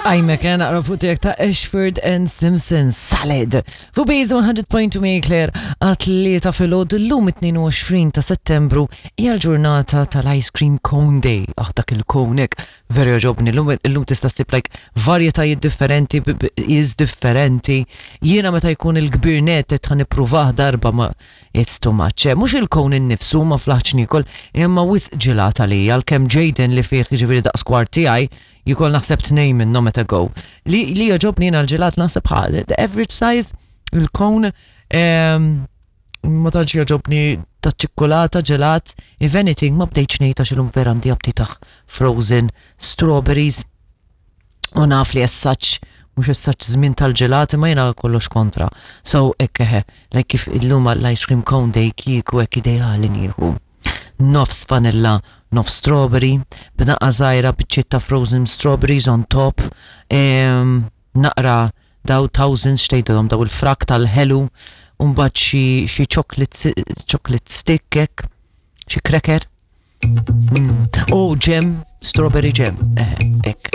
Tqajmek eh, naqra fuq tiegħek ta' Ashford and Simpson Salad. Fuq Base 100.2 Claire għat-tlieta filgħodu llum 22 ta' Settembru hija l-ġurnata tal-Ice Cream Cone Day. Ah dak il-cone hekk veru jogħġobni. Illum illum tista' ssib like varjetajiet differenti, is differenti. Jiena meta jkun il-kbir net qed ħa nippruvah darba ma it's too much. Eh, mhux il-cone innifsu ma flaħtx niekol, imma wisq ġilat għalija għalkemm Jaden li fih jiġifieri daqs kwart tiegħi Jikol naħseb tnejn minnhom meta go. Li li jogħġobni jiena l-ġelat naħseb ħa the average size il-cone ehm, ma tantx jogħġobni ta' ċikkulata ġelat, if anything ma bdejtx ngħid għax illum vera għandi aptit frozen strawberries u naf li as such mhux as such żmien tal-ġelat imma jiena kollox kontra. So hekk eħe, like kif illum l-ice cream cone day kieku hekk ideali nieħu. Nofs vanilla, nofs strawberry, b'naqqa żgħira biċċiet ta' frozen strawberries on top, ehm, naqra daw thousands x'tgħidilhom daw il-frak tal-ħelu, u mbagħad xi xi chocolate chocolate stick hekk, xi cracker. Mm. Oh, jam, strawberry jam. Eħe.